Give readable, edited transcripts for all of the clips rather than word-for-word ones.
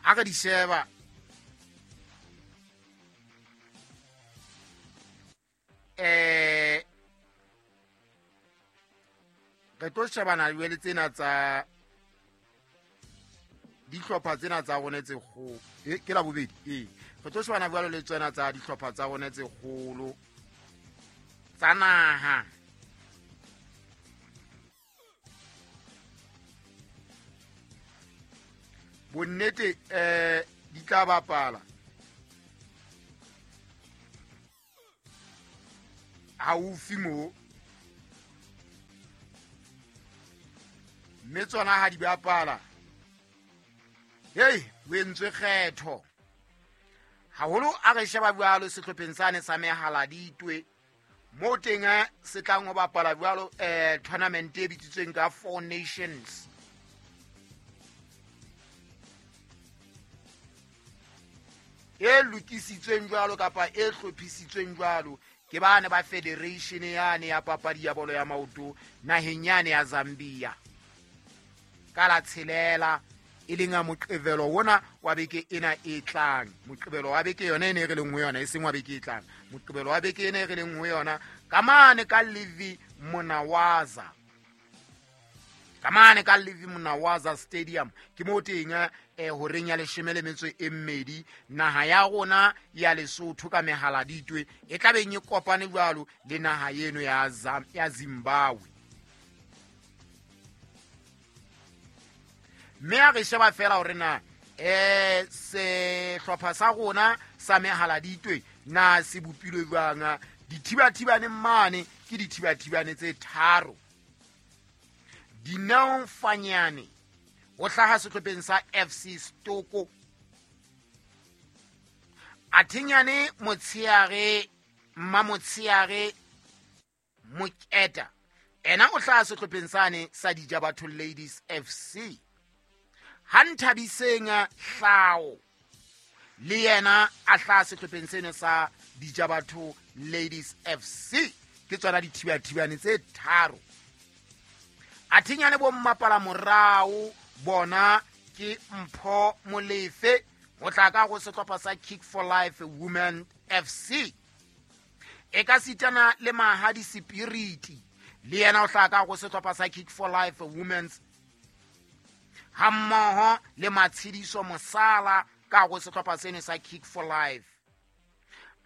Ha re di sheba re tlo shebana le tsena tsa dihlopha tsena tsa rona tse kgolo. Ke la bobedi. Re tlo shebana jwalo le tsena tsa dihlopha tsa rona tse kgolo tsa naha. Bonnete di tla bapala haufi mo, mme tsona ha di bapala hei o entswe kgetho haholo. A re sheba jwalo sehlopheng sane sa Mehaladitwe mo teng se tlang ho bapala jwalo tournament e bitsitsweng ka Four Nations. E lokisitsweng jwalo kapa e hlophisitsweng jwalo ke bane ba federation yane ya papadi ya bolo ya maoto naheng yane ya Zambia. Ka la 6 e leng a Moqebelo wona wa beke ena e tlang. Moqebelo wa beke yona e ne re leng ho yona, e seng wa beke e tlang. Moqebelo wa beke ena e re leng ho yona ka mane ka Levi Monawaza. Ka mane ka Levi Monawaza Stadium ke mo teng horeng ya 12 naha ya rona ya Lesotho ka Mehaladitwe e tla beng e kopane jwalo le naha eno ya Zimbabwe. Mme a re sheba fela hore na sehlopha sa rona sa Mehaladitwe na se bopilwe jwang. Dithibathibane mane ke dithibathibane tse 3. Dineo Fanyane o hlaha sehlopheng sa FC Stoko. Athinyane Motshiare Mmamotshiare Moketa ena o hlaha sehlopheng sane sa Dijabatho Ladies FC. Ha Nthabiseng Hlao le yena a hlaha sehlopheng seno sa Dijabatho Ladies FC. Ke tsona dithibathibane tse 3. Athinyane bo mmapala morao bona ke Mpho Molefe o tla ka go sehlopha sa Kick for Life Women FC. E ka sitana le Mahadi Spirit le yena o tla ka go sehlopha sa Kick for Life Women's hammoho le Matshidiso Mosala ka go sehlopha seno sa Kick for Life.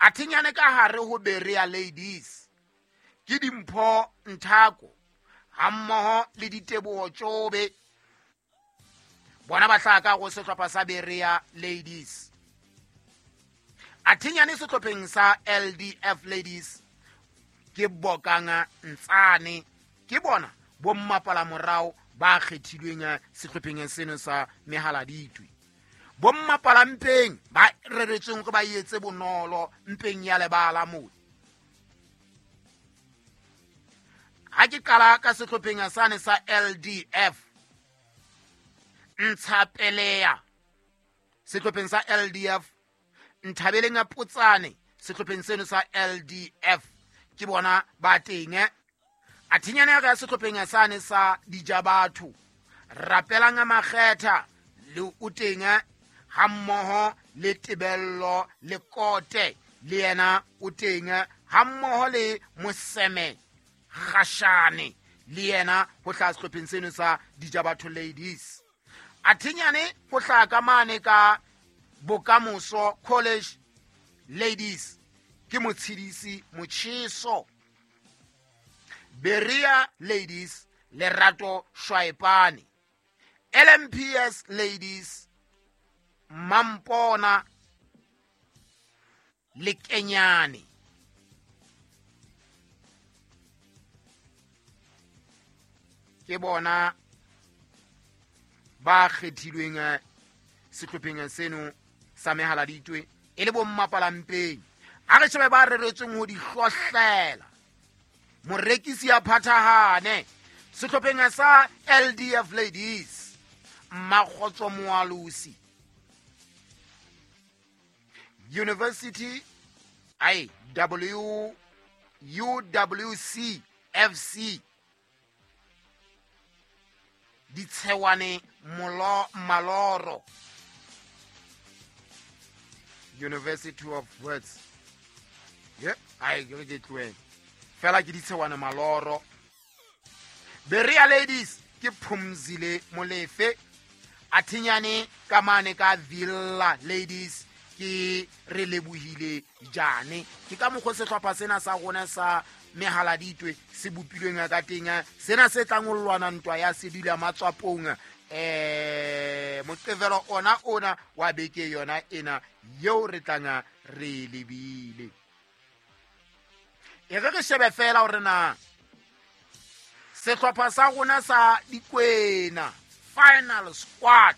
Athinyane ka hare ho Berea Ladies ke Dimpho Nthako hammoho le Diteboho Tjobe bona ba hlaha ka go sehlopha sa Berea Ladies. Athinyane sehlopheng sa LDF Ladies ke Bokanga Ntsane, ke bona bo mmapala morao ba kgethilweng sehlopheng seno sa Mehaladitwe. Bo mmapala mpeng ba reretsweng hore ba etse bonolo mpeng ya lebala moo. Ha ke qala ka sehlopheng sane sa LDF Ntshapelea sehlopheng sa LDF, Nthabeleng ya Potsane sehlopheng seno sa LDF ke bona ba teng. Athinyane ya ka sehlopheng sane sa Dijabatho Rapelang Makgetha le o teng hammoho le Tebello le Kote le yena o teng hammoho le Moseme Gashane le yena ho hlaha sehlopheng seno sa Dijabatho Ladies. Athinyane ho hlaha ka mane ka Bokamoso College Ladies ke Motshidisi Motjheso. Berea Ladies Lerato Shwaepane. LMPS Ladies Mampona Lekenyane. Ke bona ba kgethilweng sehlopheng seno sa Mehaladitwe e le bo mmapalampeng. A re shebe ba reretsweng ho di hlohlela. Morekisi ya phathahane sehlopheng sa LDF Ladies Mmakgotso Moalosi. University I W UWC FC Ditshewane Molo Maloro. University of Wits. Ye ai ke tlohele fela ke ditshewana maloro. Berea Ladies ke Phumzile Molefe. Athinyane ka mane ka Villa Ladies ke re lebohile jane. Ke ka mokgwa sehlopha sena sa rona sa mehaladitwe se bopilweng ka teng, sena se tlang ho lwana ntwa ya sedula matswapong moqevelo ona wa beke yona ena yeo re tlang re lebile. E re shebe fela hore na sehlopha sa rona sa Dikwena final squad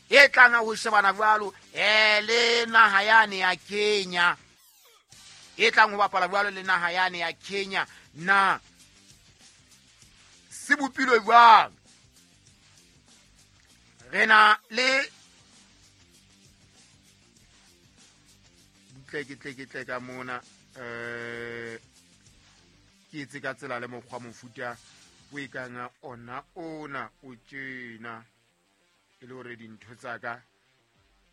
e tlang ho shebana jwalo le naha yane ya Kenya, e tlang ho bapala jwalo le naha yane ya Kenya, na se bopilwe jwang. Re na le butle ke tle ka mona ke etse ka tsela le mokgwa mofuta o e kang ona o tjena, e le hore dintho tsa ka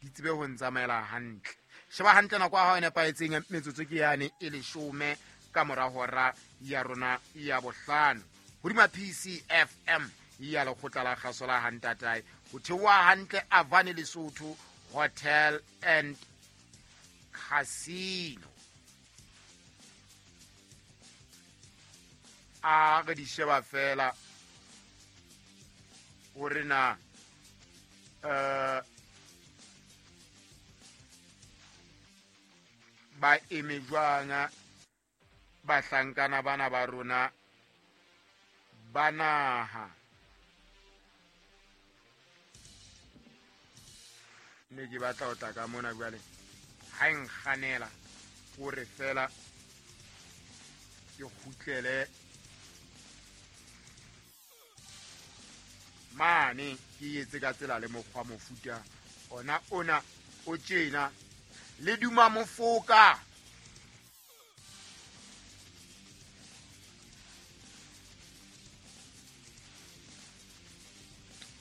di tsebe ho ntsamaela hantle. Sheba hantle nako ya hao e nepahetseng, metsotso ke yane e 10 ka mora hora ya rona ya 5 hodima PCFM ya lekgotla la kgaso la Hantatae. Ho theoha hantle Avane Lesotho Hotel and Casino. A re di sheba fela hore na ba eme jwang bahlankana bana ba rona ba naha. Ne ke batla ho tla ka mona jwale ha e nkganela hore fela ke kgutlele mane ke etse ka tsela le mokgwa mofuta ona o tjena. Le duma mofoka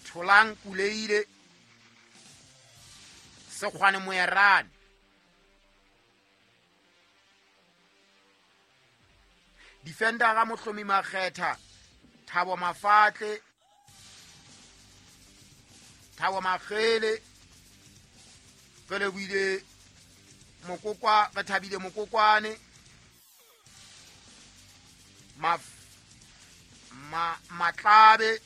Tholang Kuleile Sekgwane Moerane. Defender Mohlomi Makgetha, Thabo Mafatle, Thabo Makgele, re lebohile Mokokwa, re thabile Mokokwane, Matlabe,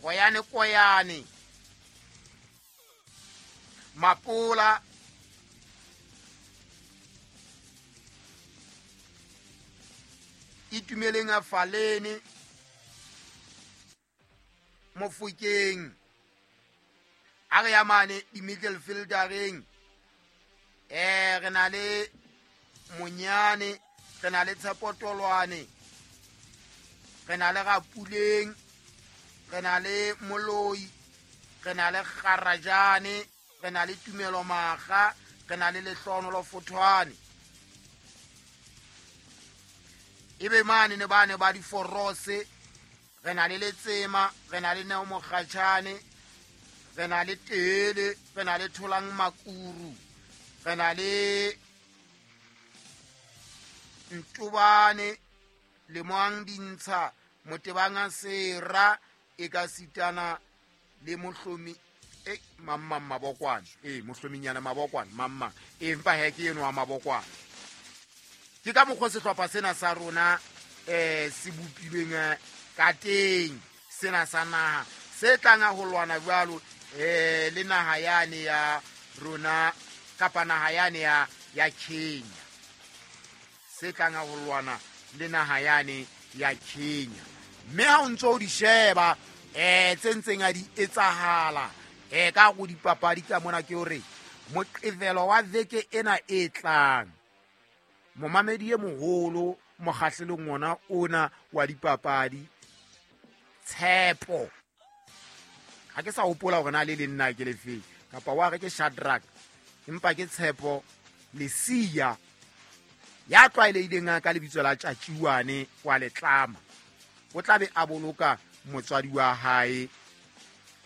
Koyane Koyane, Mapola, Itumeleng Falene, Mofokeng, a re ya mane di-middle fieldereng, re na le Monyane, re na le Tshepotolwane, re na le Rapuleng, re na le Moloi, re na le Kgarajane, re na le Tumelo Makga, re na le Lehlohonolo Fothwane. Ebe mane ne bane ba diforose, re na le Letsema, re na le Neo Mokgatjhane, re na le Tele, re na le Tholang Makuru, re na le Ntobane, Lemoang Dintsha, Motebanga Sera, e ka sitana le Mohlomi mamma Mabokwane, Mohlominyana Mabokwane, mamma empa he ke eno wa Mabokwane. Ke ka mokgwa sehlopha sena sa rona se bopilweng ka teng, sena sa naha se tlang ho lwana jwalo le naha yane ya rona kapa naha yane ya Kenya, se tlang ho lwana le naha yane ya Kenya. Mme ha o ntso o di sheba tse ntseng a di etsahala ka go dipapadi ka mona, ke hore moqevelo wa veke ena e tlang, momamedi e moholo mokgahlelong ona wa dipapadi Tshepo, ha ke sa hopola hore na le le nna ke lefeng kapa wa re ke Shadrack, empa ke Tshepo Lesia ya tlwaelehileng ka lebitso la Tjatjiwane wa Letlama, o tla be a boloka motswadi wa hae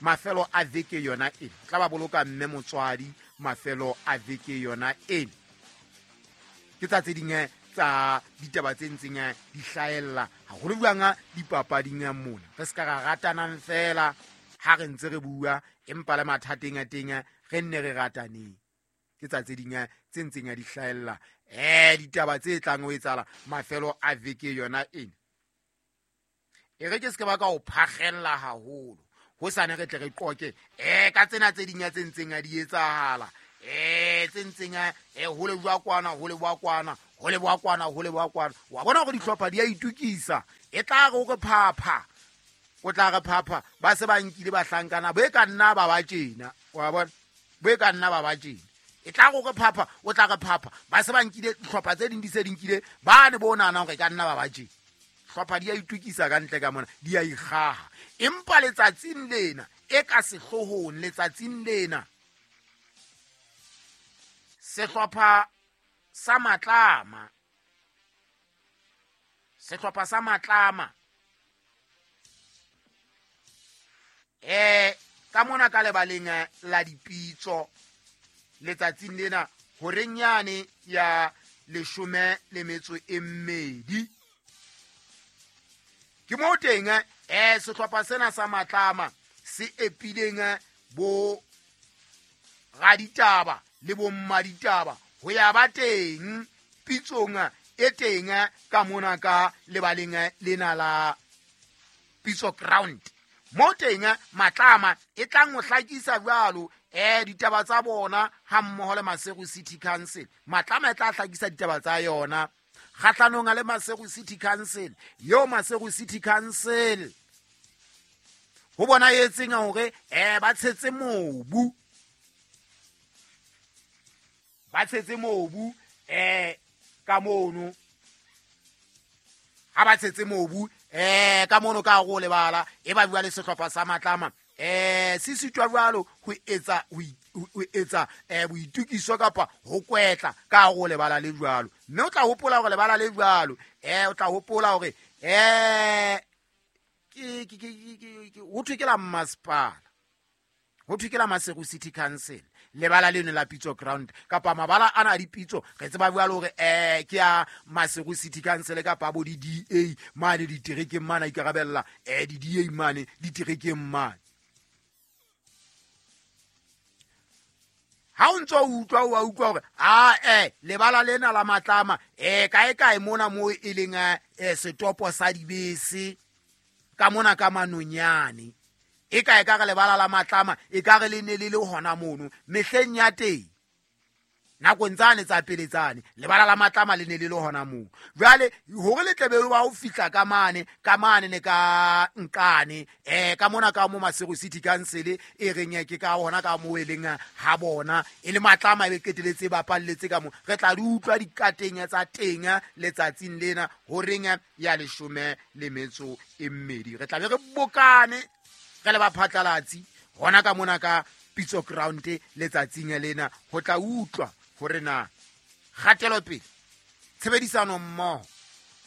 mafelo a veke yona e tla ba boloka mme motswadi mafelo a veke yona ena. Ke tsa tse ding tsa ditaba tse ntseng di hlahella haholo jwang dipapading mona. Re se ka ra ratanang fela ha re ntse re bua, empa le mathateng a teng re nne re rataneng. Ke tsa tse ding tse ntseng di hlahella ditaba tse tlang ho etsahala mafelo a veke yona ena. E re ke se ke ba ka o phakgella haholo, ho sane re tle re qoke ka tsena tse ding tse ntseng di etsahala, tse ntseng ho le bua kwana, ho le bua kwana, ho le bua kwana, ho le bua kwana. Wa bona hore dihlopha di a itukisa, e tla re o re phapha, o tla re phapha, ba se ba nkile bahlankana bo e ka nna ba ba tjena, wa bona, bo e ka nna ba ba tjena. E tla re o re phapha, o tla re phapha, ba se ba nkile dihlopha tse ding di se di nkile ba ne bo nahana hore e ka nna ba ba tjena. Hlopha di a itukisa ka ntle ka mona, di a ikgaha. Empa letsatsing lena e ka sehloohong, letsatsing lena sehlopha sa Matlama, sehlopha sa Matlama ka mona ka lebaleng la dipitso letsatsing lena horeng yane ya 12. Ke moo teng sehlopha sena sa Matlama se epileng bo raditaba le bo mmaditaba ho ya ba teng pitsong e teng ka mona ka lebaleng lena la Pitso Ground. Mo teng Matlama e tlang ho hlakisa jwalo ditaba tsa bona ha mmoho le Maseru City Council. Matlama e tla hlakisa ditaba tsa yona kgahlanong le Maseru City Council. Yo Maseru City Council ho bona etseng hore ba tshetse mobu, ba tshetse mobu ka mono, ha ba tshetse mobu ka mono ka go lebala e ba bua le sehlopha sa Matlama se sitwa jwalo ho etsa ho etsa boitukiso kapa ho kwetla ka go lebala le jwalo. Mme o tla hopola hore lebala le jwalo o tla hopola hore ke ho thwe ke la mmasepala, ho thwe ke la Maseru City Council lebala leno la Pitso Ground kapa mabala ana a dipitso re tseba jwalo hore ke a Maseru City Council kapa bo di-DA mane diterekeng mane a ikarabella di-DA mane diterekeng mane. Ha o ntso utlwa o utlwa hore lebala lena la Matlama kae kae mona mo e leng setopo sa dibese ka mona ka Manonyane, e kae ka re lebala la Matlama e ka re le ne le le hona mono mehleng ya teng nakong tsane tsa pele tsane lebala la Matlama le ne le le hona moo. Jwale hore le tlebe ba ho fihla ka mane ne ka nkane ka mona ka mo Maseru City Council e reng ke ka hona ka mo e leng ha bona e le Matlama e be qeteletse ba palletse ka mo. Re tla di utlwa dikateng tsa teng letsatsing lena horeng ya 12. Re tla be re bokane re le ba phatlalatsi hona ka mona ka Pitso Ground letsatsing lena ho tla utlwa hore na kgatelopele tshebedisano mmoho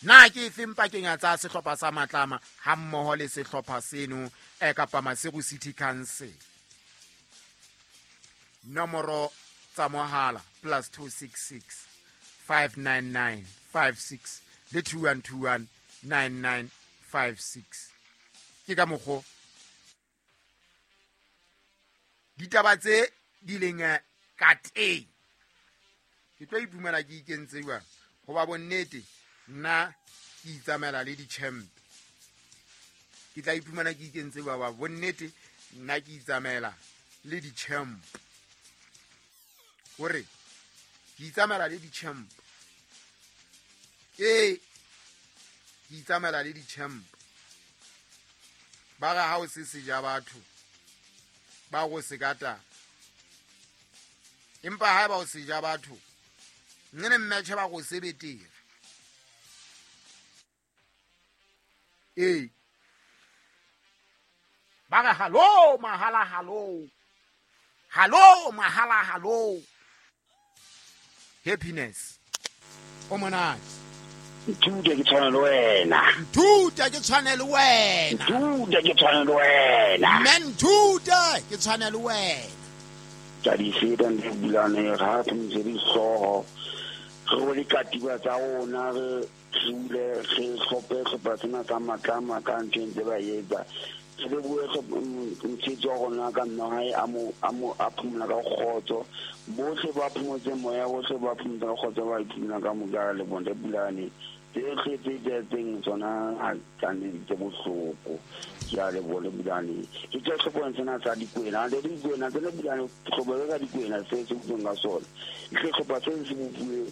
na ke efeng pakeng tsa sehlopha sa Matlama ha mmoho le sehlopha seno kapa Maseru City Council. Nomoro tsa mohala +266 599 56 le 2121 9956. Ke ka mokgo ditaba tse di leng ka teng. Ke tlo iphumana ke ikentse jwang hoba bonnete nna ke itsamaela le di-champ. Ke tla iphumana ke ikentse jwang hoba bonnete nna ke itsamaela le di-champ. Hore ke itsamaela le di-champ. Ke itsamaela le di-champ. Ba re ha o se seja batho ba go se kata, empa ha ba o seja batho nne mmetjhe ba go sebetere. Ba re halo mahala halo, halo mahala halo. Happiness o monate. Nthute ke tshwane le wena. Nthute ke tshwane le wena. Nthute ke tshwane le wena. Mme nthute ke tshwane le wena. Ke a di feta ntle Bulane, ga re phomotse dihlooho, re rwele katiba tsa rona, re dule re hlophe hlopha sena sa matlama ka ntho e ntse ba etsa. Re lebohe motshehetse wa rona ka mme wa hae a mo a mo a phomola ka kgotso. Bohle ba phomotseng moya, bohle ba phomotseng ka kgotso, ba iphumola ka moka re leboha ntate Bulane. Tsohle tse etsahetseng tsona ha kannete tse bohloko. Ke a leboha le Bulane. Ke tswa sehlopheng sena sa Dikwena. Ntate Dikwena, tsena Bulane, sehlopha se sa Dikwena se se butsweng ka sona. Ke sehlopha se se bopuwe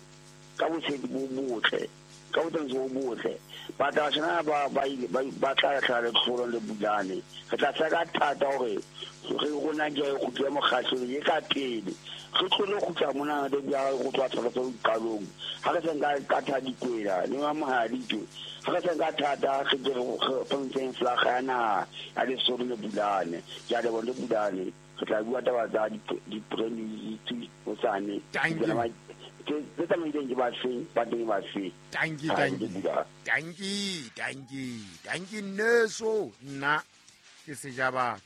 ka botshepi bo botle, ka botsamisi bo botle. Batla ba ba ile ba ba tla hlaha le tlholo le Bulane. Re tla seka ka thata hore re rona ke e kgutle mokgahlelong e ka pele. Re tlole kgutla mona re bua go tloha tlhaloso qalong. Ha re seng ka ka tha Dikwena le wa Mohaditwe. Ha re seng ka thata re ke re phontseng flaga ya naha ya Lesotho le Bulane. Ke a leboha le Bulane. Re tla bua taba tsa di hosane. Thank you. Tse tsamaileng ke ba feng, ba teng ba feng. Thank you, thank you. Thank you, thank you. Thank you, nneso. Nna ke seja batho.